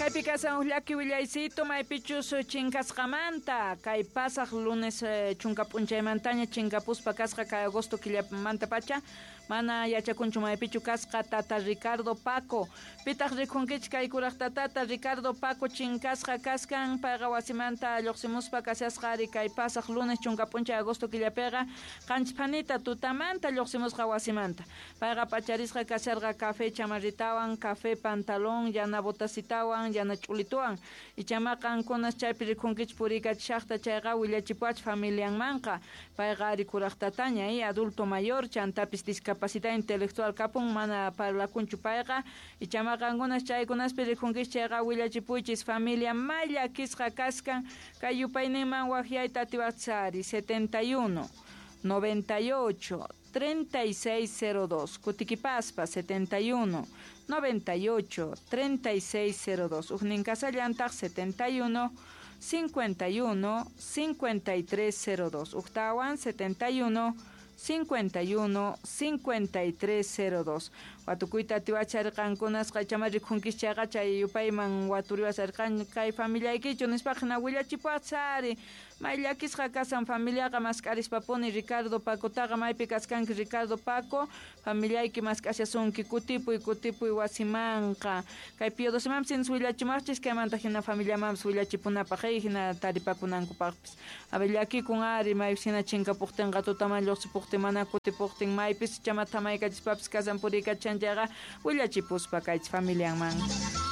Kaypi kasan huk llaki willaycito maypichus chinkasqamanta kay pasaq lunes chunka p'unchaymantaña chinkapuspa kasqa kay agosto killamantapacha mana yachakunchu maypichu kasqa tata Ricardo Paco. Pitaq rikhunkichik kay kuraq tatata Ricardo Paco chinkasqa kaskan payqa wasimanta lluqsimuspa kashasqa ari kay pasaq lunes chunka p'unchay agosto killapiqa qanchis phanita tutamanta lluqsimusqa wasimanta. Payqa p'acharisqa kasharqa café chamarritawan, café pantalón, yana botasitawan, yana ch'ulituwan. Ichama qankunas chaypi rikhunkichik puriykachishaqta chayqa willachipuwach familianmanqa. Payqa ari kuraq tataña, adulto mayor, chantapis discapacidad intelectual kapun mana parlakunchu payqa. Ichama qankunas chaykunaspi rikhunkichik chayqa willachipuychis familia may llakisqa kaskan kay yupayninman waqyayta atiwaqchari 71 98 3602 kutikipaspa 71 98 3602 ujnin kasallantaq 71 51 5302 ujtawan 71 51 5302 watukuyta atiwacharqankunasqa ichama rikhunkichik chayqa chay yupayman waturiwasharqan kay familiaykichu nispaqa hina willachipuwaqchari may llakisqa kasan familiaqa mask'arispapuni Ricardo Pacotaqa maypi kaskanki Ricardo Paco familiayki mask'ashasunki kutipuy kutipuy wasimanqa kay Pío Docemampis sinas willachimaqchis kaymanta hina familiamanpis willachipunapaq hina taripakunankupaqpis a ver llakikun ari maypis hina chinkapuqtinqa tutaman lluqsipuqtin mana kutipuqtin maypis ichama thamaykachispapis kasan puriykachan chayqa willachipuspa kaychis familianman.